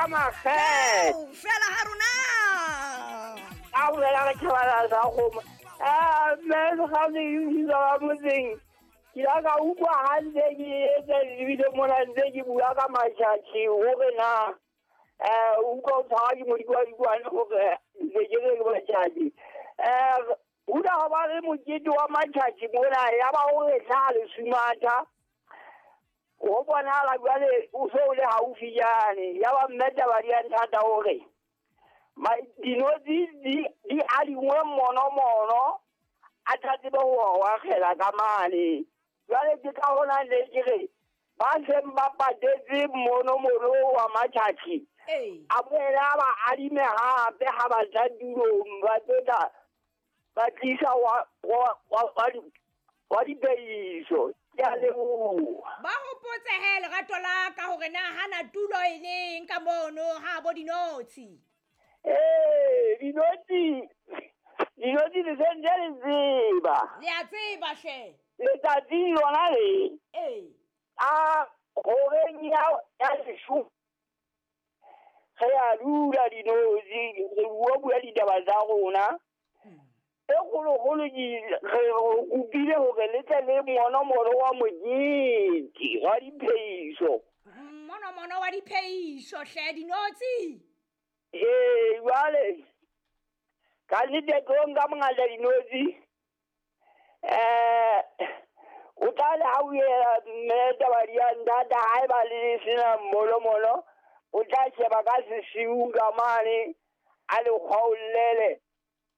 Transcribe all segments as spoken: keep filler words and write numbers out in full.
ka makgethe. Fela ha rona. Ka bolela re tjhabana sa kgomo. Ah, mme sekgane ke bitsa ba motseng. Ke la ka utlwa hantle ke etse lebile mona ntse ke bua ka matjhatjhi hore na eh utlwa o tshwara ke modikwadikwane hore ntse ke re ke matjhatjhi. Eh hula ho ba le mokete wa matjhatjhi mona ya ba o re tla le sumatha. Ho bonahala jwale o so o le haufi jane ya ba mme taba di a nthata hore ma dinotshi di di adingwe mono mono a tla tsebe ho wa kgela ka mane. Jwale ke ka hona le ke re ba seng ba patetse mono mono wa matjhatjhi a boela ba adime hape ha ba tla tulong ba tla ba tlisa wa wa wa wa dipeiso. Ke a leboha. Ba hopotse he lerato la ka hore na hana tulo e leng ka mono ha bo dinotshi. Eh, dinotshi dinotshi le sentse le tseba. Le a tseba hle. Letsatsing lona le. Eh. A horeng ya ya lesho. Re a dula dinotshi re bua bua ditaba tsa rona. E kgolokgolo ke re kopile hore le tle le monomono wa mokete wa dipheiso. Monomono wa dipheiso hle dinotshi. Ee, jwale ka nnete tlo nka bongata dinotshi. Eh o tla le ha o ela mme taba di a nthata haeba le sena monomono o tla sheba ka sesiung ka mane a le kgwaollele.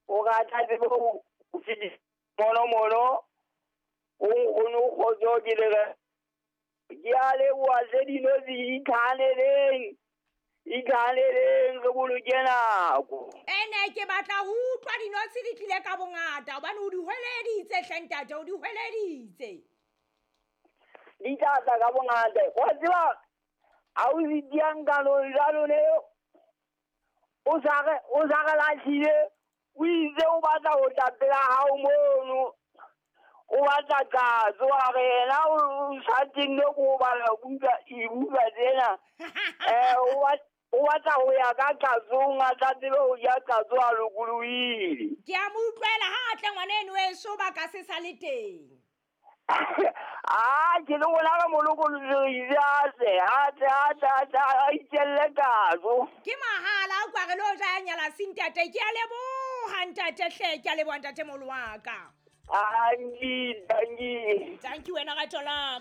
O ka tla tsebe ho fetisa monomono o nkgono kgotso ke le re ke a leboha hle dinotshi itlhahaneleng itlhahaneleng re boloke nako. Ene ke batla ho utlwa dinotshi di tlile ka bongata hobane o di hweleditse hle ntate, o di hweleditse. Di tla tla ka bongata. Wa tseba ha o se diang kanong jwalo ne o sa re o sa re lahlile. O itse o batla ho tla pela hao mono o batla katso a re yena o sa tenne ko bala buka dibuka tsena. Eh o batla ho ya ka katsong a tla tsebe ho ja katso a lokolohile. Ke a mo utlwela ha a tle ngwaneno weso ba ka se sa le teng. Ah, ke le bona ka molokolohi a tle a tle a tle a tle a itjelle katso. Ke mahala o kwa re lo ja nyala si ntate. Ke a leboha ntate hle, ke a leboha ntate moholo wa ka. Angi, danki. Thank you wena rato la.